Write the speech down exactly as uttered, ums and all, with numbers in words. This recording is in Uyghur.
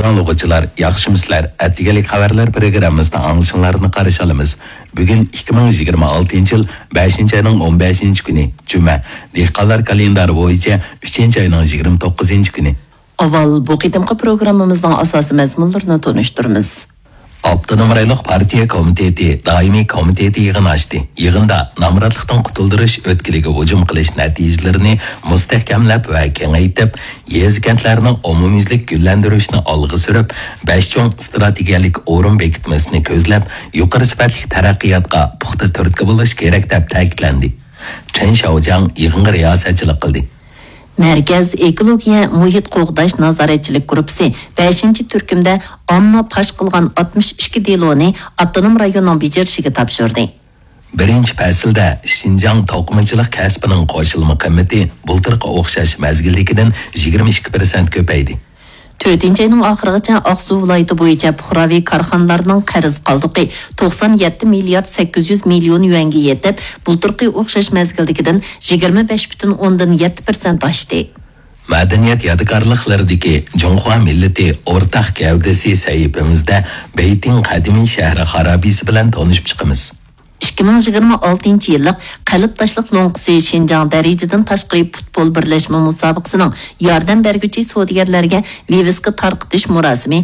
ئاڭلىغۇچىلار، ياخشىمۇسىلەر؟ ئەتىگەنلىك خەۋەرلەر پروگراممىسىدا ئاڭلىشىڭلارنى قارشى ئالىمىز. بۈگۈن ئىككى مىڭ يىگىرمە ئالتىنچى يىل بەشىنچى ئاينىڭ ئون بەشىنچى كۈنى، جۈمە. دېھقانلار كالېندارى بويىچە ئۈچىنچى ئاينىڭ يىگىرمە توققۇزىنچى كۈنى. ئاۋۋال بۇ قېتىمقى پروگراممىمىزنىڭ ئاساسىي مەزمۇنلىرىنى تونۇشتۇرىمىز. ئاپتونوم رايونلۇق پارتىيە كومىتېتى دائىمىي كومىتېتى يىغىنى ئاچتى. يىغىندا نامراتلىقتىن قۇتۇلدۇرۇش ئۆتكىلىگە ھۇجۇم قىلىش نەتىجىلىرىنى مۇستەھكەملەپ ۋە كېڭەيتىپ، يېزا-كەنتلەرنىڭ ئومۇميۈزلۈك گۈللەندۈرۈشنى ئالغا سۈرۈپ، بەش چوڭ ئىستراتېگىيەلىك ئورۇن بېكىتمىسىنى كۆزلەپ، يۇقىرى سۈپەتلىك تەرەققىياتقا پۇختا تۈرتكە بولۇش كېرەك، دەپ تەكىتلەندى. چېن شياۋجياڭ يىغىنغا رىياسەتچىلىك قىلدى. مەركەز ئېكولوگىيە مۇھىت قوغداش نازارەتچىلىك گۇرۇپپىسى بەشىنچى تۈركۈمدە ئامما پاش قىلغان ئاتمىش ئىككى دېلونى ئاپتونوم رايوننىڭ بېجىرىشىگە تاپشۇردى. بىرىنچى پەسىلدە شىنجاڭ توقۇمىچىلىق كەسپىنىڭ قوشۇلما قىممىتى بۇلتۇرقى ئوخشاش مەزگىلدىكىدىن يىگىرمە ئىككى پىرسەنت كۆپەيدى. تۆتىنچى ئاينىڭ ئاخىرىغىچە ئاقسۇ ۋىلايىتى بويىچە پۇقراۋى كارخانىلارنىڭ قەرز قالدۇقى توقسان يەتتە مىليارد سەككىز يۈز مىليون يۈەنگە يېتىپ، بۇلتۇرقى ئوخشاش مەزگىلدىكىدىن يىگىرمە بەش پۈتۈن ئوندىن يەتتە پىرسەنت ئاشتى. مەدەنىيەت يادىكارلىقلىرىدىكى جۇڭخۇا مىللىتى ئورتاق گەۋدىسى سەھىپىمىزدە بېيتىڭ قەدىمىي شەھىرى خارابىسى بىلەن تونۇشۇپ چىقىمىز. ئىككى مىڭ يىگىرمە ئالتىنچى يىللىق قەلب تاشلىق لوڭقىسى شىنجاڭ دەرىجىدىن تاشقىرى پۇتبول بىرلەشمە مۇسابىقىسىنىڭ ياردەم بەرگۈچى سودىگەرلەرگە ۋىۋىسكا تارقىتىش مۇراسىمى